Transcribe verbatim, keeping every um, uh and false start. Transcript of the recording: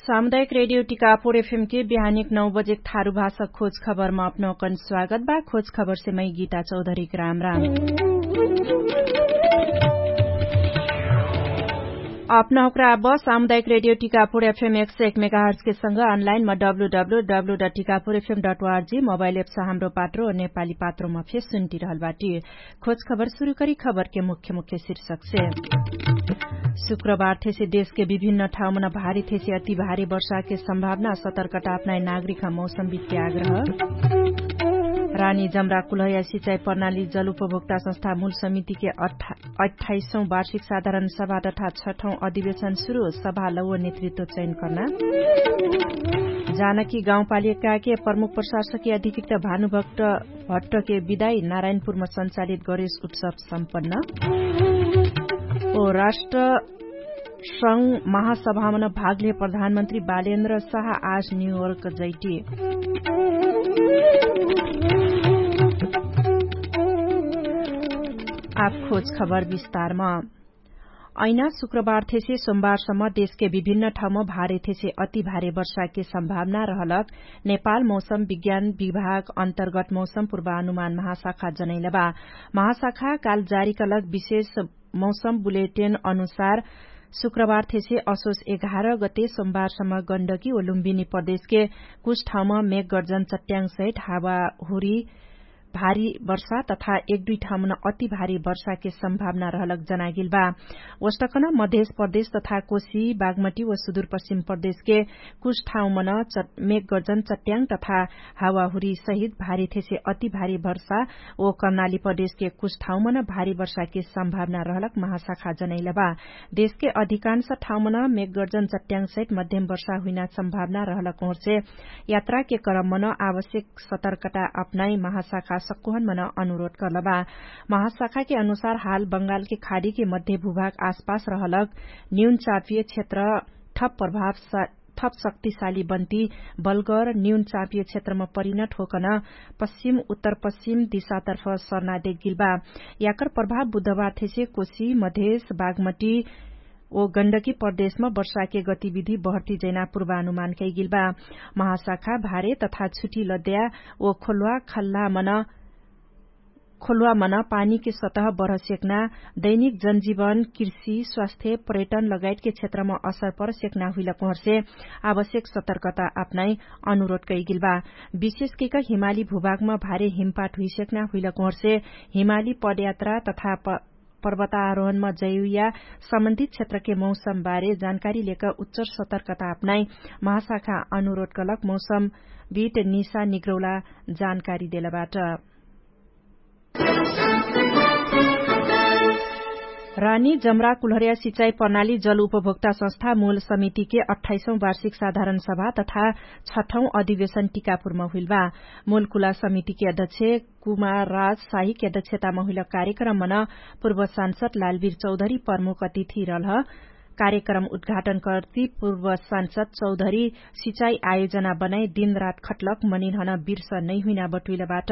सामुदायिक रेडियो टिकापुर एफएम के बिहानिक नौ बजेक थारु भाषा खोज खबरमा अपनौकन स्वागत बा। खोज खबरसे मै गीता चौधरीक राम राम। अपनौकरा अब सामुदायिक रेडियो टिकापुर एफएम एक सय एक मेगाहर्जके संग अनलाइनमा W W W dot Tikapur FM dot ORG mobile apps Hamro Patro नेपाली पात्रोमा फेर सुन्टिरहल बाटी। खोज खबर सुरु करी खबरके मुख्य मुख्य शीर्षकसे। शुक्रबार थेसे देशके विभिन्न ठाउँमन भारी थेसे अति भारी वर्षाके सम्भावना सतर्कता अपनाइ नागरिकमा मौसमविदके आग्रह। रानी जमरा कुलहया सिचाइ प्रणाली जल उपभोक्ता संस्था मूल समितिके अठाइसौँ वार्षिक साधारण सभा तथा छठौँ अधिवेशन सुरु सभा लौव नेतृत्व चयन कर्ना। जानकी गाउँपालिकाके प्रमुख प्रशासकी अधिकृत भानुभक्त भट्टके विदाई नारायणपुरमा सञ्चालित गरेश उत्सव सम्पन्न। ओ राष्ट्र संघ महासभामन भागले प्रधानमन्त्री बालेन्द्र साहा आज न्युयोर्क जैटी। आब खोज खबर विस्तारमा। ऐना शुक्रबार थेसे सोमबारसम्म देशके विभिन्न ठाउँमा भारे थेसे अति भारे वर्षाके सम्भावना रहलक नेपाल मौसम विज्ञान विभाग अन्तर्गत मौसम पूर्वानुमान महाशाखा जनैलबा। महाशाखा काल जारी कलक विशेष मौसम बुलेटेन अनुसार शुक्रबार थेसे असोस एघार गते सोमबारसम्म गण्डकी व लुम्बिनी प्रदेशके कुछ ठाउँमा मेघगर्जन चट्याङसहित हावाहुरी भारी वर्षा तथा एक दुई ठाउँमन अति भारी वर्षाके सम्भावना रहलक जनागिल बा। ओष्टकन मधेश प्रदेश तथा कोशी बागमटी व सुदूरपश्चिम प्रदेशके कुछ ठाउँमन मेघगर्जन चट्याङ तथा हावाहुरी सहित भारी थेसे अति भारी वर्षा ओ कर्णाली प्रदेशके कुछ ठाउँमन भारी वर्षाके सम्भावना रहलक महाशाखा जनैलबा। देशके अधिकांश ठाउँमन मेघगर्जन चट्याङ सहित मध्यम वर्षा हुइना सम्भावना रहलक ओर्से यात्राके क्रममन आवश्यक सतर्कता अपनाइ महाशाखा सक्कुहन मन अनुरोध कर्लबा। महाशाखाके अनुसार हाल बंगालके खाडीके मध्य भूभाग आसपास रहलक न्यून चापिय क्षेत्र थप प्रभाव थप शक्तिशाली बन्ती बलगर न्यून चापिय क्षेत्रमा परिणत होकन पश्चिम उत्तर पश्चिम दिशातर्फ सर्ना देगिलबा। याकर प्रभाव बुधबार थेसे कोशी मधेश बागमटी ओ गण्डकी प्रदेशमा वर्षाके गतिविधि बहर्ती जैना पूर्वानुमान कैगिलबा। महाशाखा भारे तथा छुटी लद्या ओ खोल्वा खल्ला मन खोल्वा मन पानीके सतह बढसेक्ना दैनिक जनजीवन कृषि स्वास्थ्य पर्यटन लगायतके क्षेत्रमा असर परसेक्ना हुइलक ओहर्से आवश्यक सतर्कता अपनाइ अनुरोध कैगिलबा। विशेषके क हिमाली भूभागमा भारे हिमपाट हुइसेक्ना हुइलक ओहर्से हिमाली पदयात्रा तथा पर्वतारोहणमा जैविया सम्बन्धित क्षेत्रके मौसमबारे जानकारी लेक उच्चर सतर्कता अपनाइ महाशाखा अनुरोध कलक मौसमविट निशा निग्रौला जानकारी देलबाट। रानी जमरा कुल्हर्या सिचाइ प्रणाली जल उपभोक्ता संस्था मूल समितिके अठाइसौँ वार्षिक साधारण सभा तथा छठौँ अधिवेशन टिकापुरमा हुइलबा। मूल कुला समितिके अध्यक्ष कुमार राज साहिके अध्यक्षतामा हुइल कार्यक्रममन पूर्व सांसद लालवीर चौधरी प्रमुख अतिथि रहलह। कार्यक्रम उद्घाटन कर्ति पूर्व सांसद चौधरी सिचाइ आयोजना बनाइ दिनरात खट्लक मनिनहन बिर्स नैहुइना बटुइलबाट।